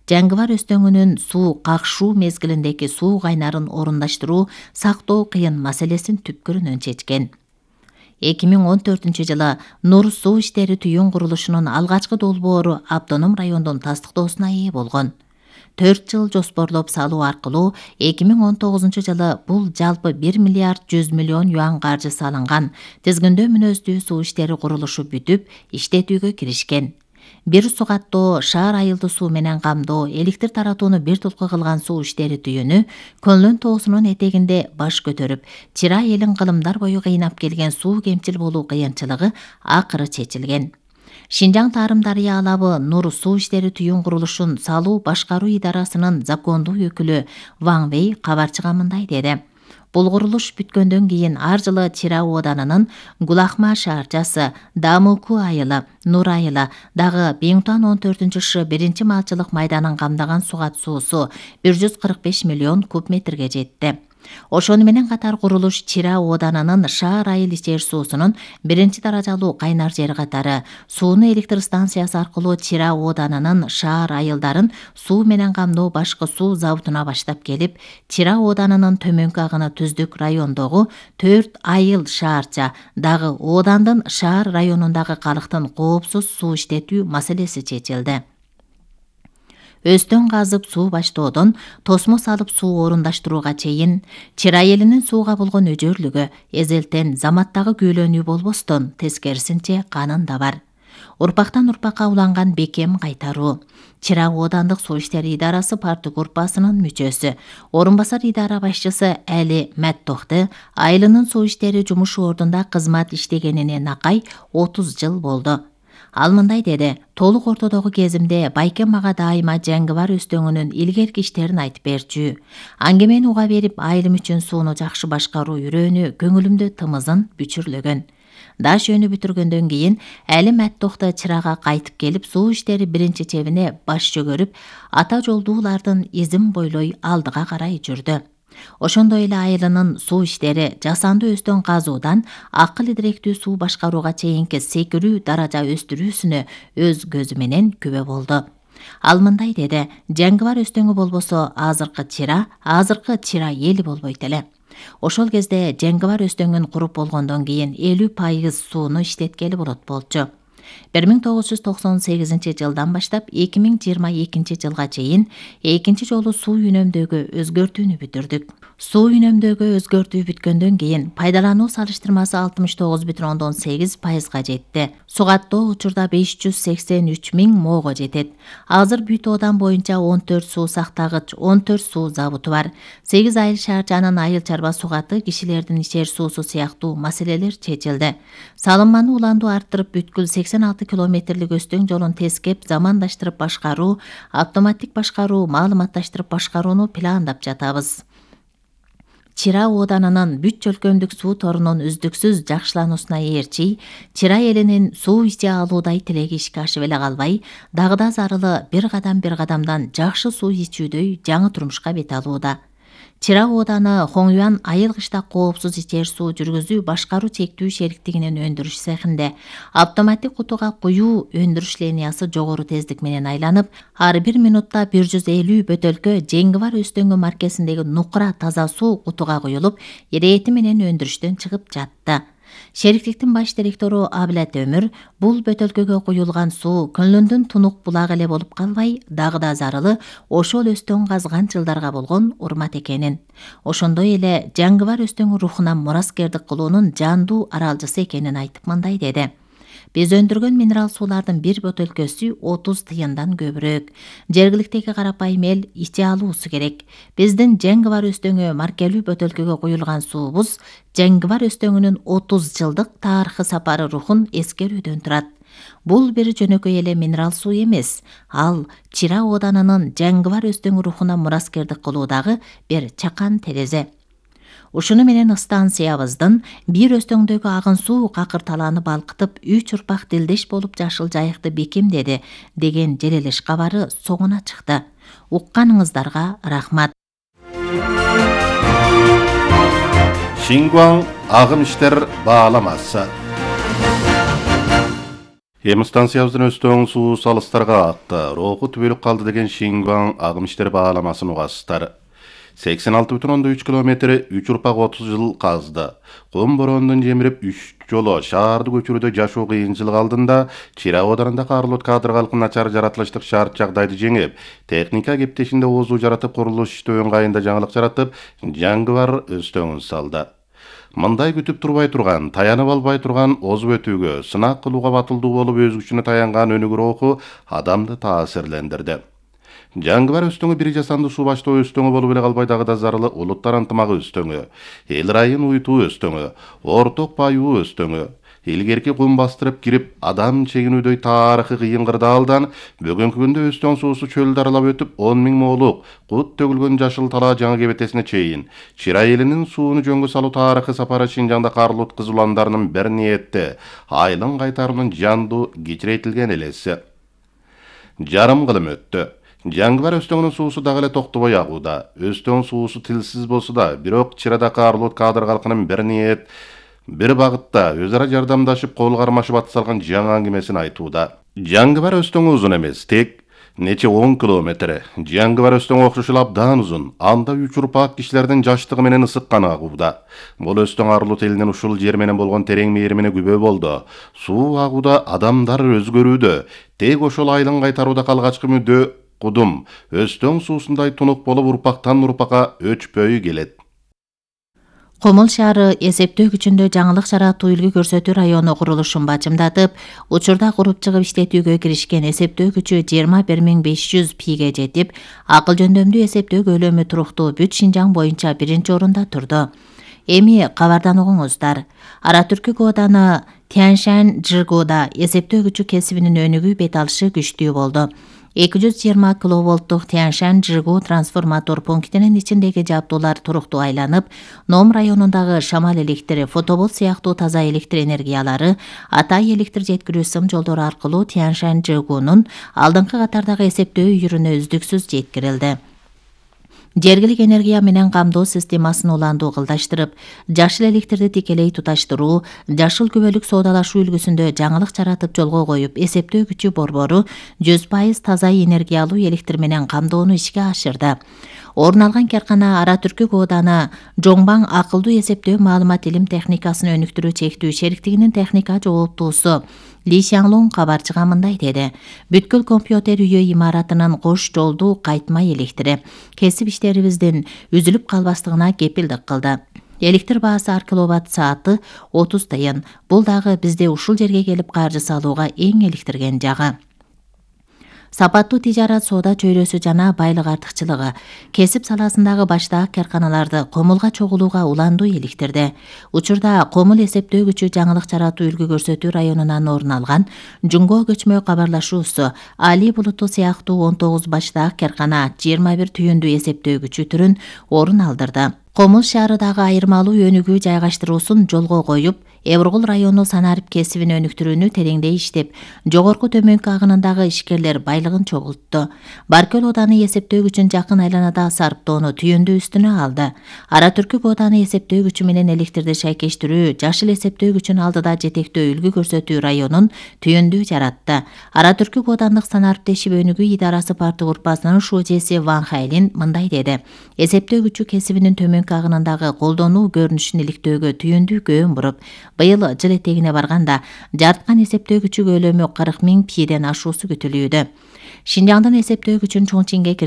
Жаңгыбар Өзтөңүнүн суу какшуу мезгилиндеги суу кайнарын орундаштыруу, сактоо кыйын маселесин түпкүрүнөн чечкен. 2014-жылы Нур суу иштери түйүн курулушунун алгачкы долбоору автоном райондун тастыктоосуна ээ болгон. 4 жыл жоспорлоп салуу аркылуу 2019-жылы бул жалпы 1 миллиард 100 миллион юан каржы салынган тизгиндөө мүнөздүү суу иштери курулушу бүтүп, иштетүүгө киришкен. Бир су каттоо, шаар айылды суу менен камдоо, электр таратууну бир тулку кылган суу иштери түйүнү Көнлөн тоосунун этегинде баш көтөрүп, Чира элин кылымдар бою кыйнап келген суу кемчил болуу кыйынчылыгы акыры чечилген. Шинжаң Тарым Дарыя алабы Нур суу иштери түйүн курулушун салуу башкаруу идарасынын закондуу өкүлү Ван Вэй кабарчыга мындай деди. Бул курулуш бүткөндөн кийин ар жылы Чира ооданынын Гулахма шаарчасы, Дамыку айылы, Нур айылы, дагы Биңтуан 14-Ш биринчи малчылык майданын камдаган сугат суусу 145 миллион куб метрге жетти. Ошону менен катар курулуш Чира ооданынын шаар айыл ичер суусунун биринчи даражалуу кайнар жери катары сууну электр станциясы аркылуу Чира ооданынын шаар айылдарын суу менен камдоо башкы суу заводуна баштап келип, Чира ооданынын төмөнкү агыны түздүк райондогу 4 айыл шаарча, дагы оодандын шаар районундагы калктын коопсуз суу иштетүү маселеси чечилди. Өстөн казып суу баштоодон тосмо салып суу орундаштырууга чейин Чира элинин сууга болгон өжөрлүгү эзелтен заматтагы күүлөнүү болбостон, тескерисинче канында бар. Урпактан урпакка уланган бекем кайтаруу. Чира оодандык суу иштери идарасы парты группасынын мүчөсү, орун басар идара башчысы Әли Мәттохты айылынын суу иштери жумуш ордунда кызмат иштегенине накай 30 жыл болду. Ал мындай деди: толук ортодогу кезимде байкем мага дайыма Жаңгыбар Өзтөңүнүн илгерки иштерин айтып берчү. Аңгемени уга берип, айылым үчүн сууну жакшы башкаруу үрөөнү көңүлүмдө тымызын бүчүрлөгөн. Даш өнү бүтүргөндөн кийин Әли Мәттохты Чирага кайтып келип, суу иштери биринчи чебине баш чөгөрүп, ата жолдуулардын изин бойлой алдыга карай жүрдү. Ошондой эле айылынын суу иштери жасанды өстөн казуудан акыл идиректүү суу башкарууга чейинки секирүү даража өстүрүүсүнө өз көзү менен күбө болду. Ал мындай деди: Жаңгыбар Өзтөңү болбосо азыркы Чира эли болбойт эле. Ошол кезде Жаңгыбар Өзтөңүн куруп болгондон кийин 50% сууну иштеткели болот болчу. 1998-жылдан баштап 2022-жылга чейин экинчи жолу суу үнөмдөөгө өзгөртүүнү бүтүрдүк. Суу үнөмдөөгө өзгөртүү бүткөндөн кийин пайдалануу салыштырмасы 69,8%га жетти. Сугаттоо учурда 583 000 моого жетет. Азыр бүт оодан боюнча 14 суу сактагыч, 14 суу заводу бар. 8 айыл шаарчанын айыл чарба сугаты, кишилердин ичер суусу сыяктуу маселелер чечилди. Салынманы уланду арттырып, бүткүл 86 километрлик Өзтөң жолун тескеп, замандаштырып башкаруу, автоматтик башкаруу, маалыматташтырып башкарууну пландап жатабыз. Чира ооданынын бүт чөлкөмдүк суу торунун үздүксүз жакшылануусуна ээрчи, Чира элинин суу иче алуудай тилеги ишке ашып эле калбай, дагы зарылы бир кадамдан жакшы суу ичүүдөй жаңы турмушка бет алууда. Чира ооданы Хоңюан айыл кыштак коопсуз ичер суу жүргүзүү башкаруу чектүү шериктигинин өндүрүш цехинде автоматтик кутуга куюу өндүрүш линиясы жогору тездик менен айланып, ар бир минутта 150 бөтөлкө Жаңгыбар Өзтөңү маркесиндеги нукура таза суу кутуга куюлуп, ирети менен өндүрүштөн чыгып жатты. Шериктиктин баш директору Абилат Өмүр бул бөтөлкөгө куюлган суу Көнлөндүн тунук булагы эле болуп калбай, дагы зарылы ошол Өзтөң казган жылдарга болгон урмат экенин, ошондой эле Жаңгыбар Өзтөң рухуна мураскердик кылуунун жандуу аралжысы экенин айтып мындай деди: Биз өндүргөн минерал суулардын бир бөтөлкөсү 30 тыйындан көбүрөөк. Жергиликтеги карапайым эл иче алуусу керек. Биздин Жаңгыбар Өзтөңү маркелүү бөтөлкөгө куюлган суубуз Жаңгыбар Өзтөңүнүн 30 жылдык тарыхы сапары рухун эскерүүдөн турат. Бул бир жөнөкөй эле минерал суу эмес. Ал Чира ооданынын Жаңгыбар Өзтөң рухуна мураскердик кылуудагы бир чакан терезе. Ушуну менен станциябыздын бир Өзтөңдөгү агын суу какырталаны балкытып, 3 урпак дилдеш болуп жашыл жайыкты бекемдеди деген желелеш кабары соңуна чыкты. Укканыңыздарга рахмат. Шингуаң агым иштер бааламасы. Эми станциябыздын Өстөң суу салыстарга акты, роху түбөлүк калды деген Шингуан агым иштери бааламасын угасыздар. 86,3 километри 3 урпак 30 жыл казды. Кум бороондун жемирип 3 жолу шаарды көчүрүүдө жашоо кыйынчылык алдында Чира оодарында Карлот кадр калкын начар жаратылыштык шарт жагдайды жеңип, техника кептешинде оозуу жаратып, курулуш иштөө ыңгайында жаңылык жаратып, жаңгыбар Өстөңүн салды. Мындай күтүп турбай турган, таянып албай турган озуп өтүүгө, сынак кылууга батылдуу болуп өз күчүнө таянган өнүгүү руху адамды таасирлендирди. Жаңгыбар Өстөңү бир жасанды суу баштоо Өстөңү болуп эле калбай дагы да зарылы улуттар ынтымагы Өстөңү, эл райын уютуу Өстөңү, орток баюу Өстөңү. Илгерки кум бастырып кирип, адам чегинүүдөй тарыхы кыйын кырдаалдан бүгүнкү күндө Өстөң суусу чөлдү аралап өтүп 10 000 моолук кут төгүлгөн жашыл талаа жаңы кебетесине чейин Чира элинин сууну жөнгө салуу тарыхы сапары Шинжаңда Карлут кызуландарынын бир ниетте айылын кайтаруунун жандуу кичирейтилген элеси. Жарым кылым өттү. Жаңгыбар Өстөңүнүн суусу дагы эле токтобой агууда. Өстөң суусу тилсиз болсо да, бирок Чирада Карлут кадр калкынын бир ниет, бир багытта өз ара жардамдашып, кол кармашып ат салган жаңы аңгемесин айтууда. Жаңгыбар Өстөң узун эмес, тек нече 10 километр. Жаңгыбар Өстөң окшошул абдан узун. Анда 3 урпак кишилердин жаштыгы менен ысыкканы агууда. Бул Өстөң Арлут элинин ушул жер менен болгон терең мээримине күбө болду. Суу агууда адамдар өзгөрүүдө. Тек ошол айылын кайтарууда калгачкы мүдө кудум Өстөң суусундай тунук болуп урпактан урпакка өчпөй келет. Комул шаары эсептөө күчүндө жаңылык жаратуу үлгү көрсөтүү району курулушун бачымдатып, учурда куруп чыгып иштетүүгө киришкен эсептөө күчү 21 500 пиге жетип, акыл жөндөмдүү эсептөө көлөмү туруктуу бүт Шинжаң боюнча биринчи орунда турду. Эми кабардан угуңуздар. Ара Түркүк ооданы Тяньшань Жыргоодо эсептөө күчү кесибинин өнүгүү бет алышы күчтүү болду. 220 киловолттук Тяньшань Жыргоо трансформатор пунктинин ичиндеги жабдуулар туруктуу айланып, Ном районундагы шамал электри, фотобол сыяктуу таза электр энергиялары, Атай электр жеткирүү сым жолдору аркылуу Тяньшань Жыргоонун алдыңкы катардагы эсептөө үйүрүнө үздүксүз жеткирилди. Жергилик энергия менен камдоо системасын уландуу кылдаштырып, жашыл электрди тикелей туташтыруу, жашыл күбөлүк соодалашуу үлгүсүндө жаңылык жаратып жолго коюп, эсептөө күчү борбору 100% таза энергиялуу электр менен камдоону ишке ашырды. Орун алган каркана Ара Түркүк ооданы Жоңбаң акылдуу эсептөө маалымат илим техникасын өнүктүрүү чектүү шериктигинин техника жооптуусу Ли Шаңлун кабарчыга мындай деди. Бүткүл компьютер үйө имаратынын кош жолдуу кайтмай электри кесип иштерибиздин үзүлүп калбастыгына кепилдик кылды. Электр баасы ar киловатт сааты 30 тыйын. Бул дагы бизде ушул жерге келип каржы салууга эң электирген жагы. Сапаттуу тижарат соода чөйрөсү жана байлык артыкчылыгы кесип саласындагы баштаак карканаларды комулга чогулууга уландуу иликтирди. Учурда комул эсептөө күчү жаңылык жаратуу үлгү көрсөтүү районунан орун алган Жунго көчмө кабарлашуусу Али булуту сыяктуу 19 баштаак каркана 21 түйүндүү эсептөө күчү түрүн орун алдырды. Комул шаарындагы айырмалуу өнүгүү жайгаштыруусун жолго коюп, Эвргул району санарип кесибин өнүктүрүүнү тереңдей иштеп, жогорку төмөнкү агынындагы ишкерлер байлыгын чогултту. Баркөл ооданы эсептөө күчүн жакын айланада сарптоону түйүндүү үстүнө алды. Ара Түркүк ооданы эсептөө күчү менен электрди шайкештирүү, жашыл эсептөө күчүн алдыда жетектөө үлгү көрсөтүү районун түйүндүү жаратты. Ара Түркүк оодандык санариптешип өнүгүү идарасы парты группасынын шужеси Ван Хайлин мындай деди. Эсептөө күчү кесибинин төмөнкү агынындагы колдонуу көрүнүшүн иликтөөгө түйүндүү көөн буруп, быйыл жыл этегине барганда жарткан эсептөө күчү көлөмү 40 000 пиден ашуусу күтүлүүдө. Шинжаңдын эсептөө күчүн чоң чеңге